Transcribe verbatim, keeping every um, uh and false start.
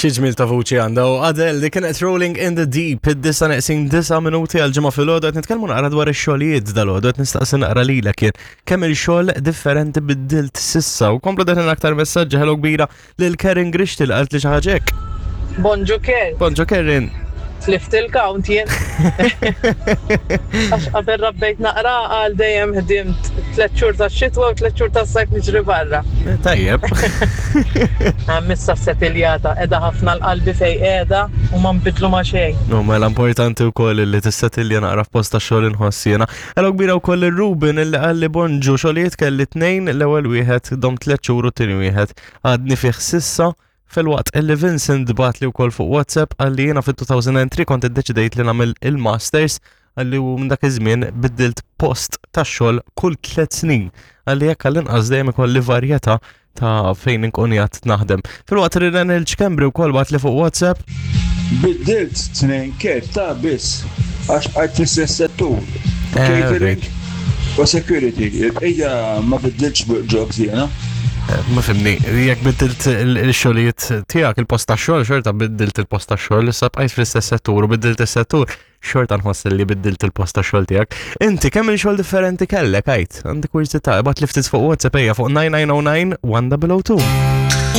Xi ġmil ta' vuċi għandha u Adele li kienet Rolling in the Deep, id-disgħa neqsin disa' minuti għal ġimgħa filgħodu. Qed nitkellmu naqra dwar ix-xogħlijiet dalgħodu, qed nistaqsi naqra lilek jien kemm il-xogħol differenti biddilt s'issa, u komplu deħlin aktar messaġġi. Hello kbira lil Karen Grixti li qalt li xi ħaġa hekk. Bonġu Ker, Bonġu, Karen. Tlift il-count jien. Għax qabel rabbejt naqra għal dejjem ħdimt tliet xhur ta' xitwa u tliet xhur ta' sajf niġri barra. Eh, Tajjeb. Missa setiljata, qiegħda ħafna l-qalbi fej qiegħda u ma nbidlu ma xejn. No, mela importanti wkoll li tissetilja naqra f'post ta' xogħol, inħoss jiena. Hello kbira wkoll ir-Ruben illi qalli: "Bonġu, xogħlijiet kelli tnejn, l-ewwel wieħed dom tliet xhur u t-tieni wieħed għadni fih s'issa." Filwaqt illi Vincent bagħatli wkoll fuq WhatsApp, qalli: "Jiena fit-elfejn u tlieta kont iddeċidejt li nagħmel il-masters," qalli, "u minn dak iż-żmien biddilt post ta' xogħol kull tliet snin." Qalli jekk għall-inqas dejjem ikolli varjetà ta' fejn inkun qiegħed naħdem. Filwaqt li Daniel Ċkembri wkoll bagħatli fuq WhatsApp. Biddilt tnejn, Kurt, ta' biss, għax bqajt fl-istess settur. Eh, Catering u security. Il-bqija ma biddiltx jobs jiena. Ma fimni, jekk biddilt il-xogħlijiet tiegħek, il-post ta' xogħol, xorta biddilt il-post ta' xogħol, issa bqajt fl-istess settur u biddilt is-settur, xorta nħoss li biddilt il-post ta' xogħol tiegħek. Inti kemm il-xogħol differenti kellek, għajt? Għandi kurżità, ibgħatli ftit fuq WhatsApp, ejja, fuq nine nine zero nine one zero zero two.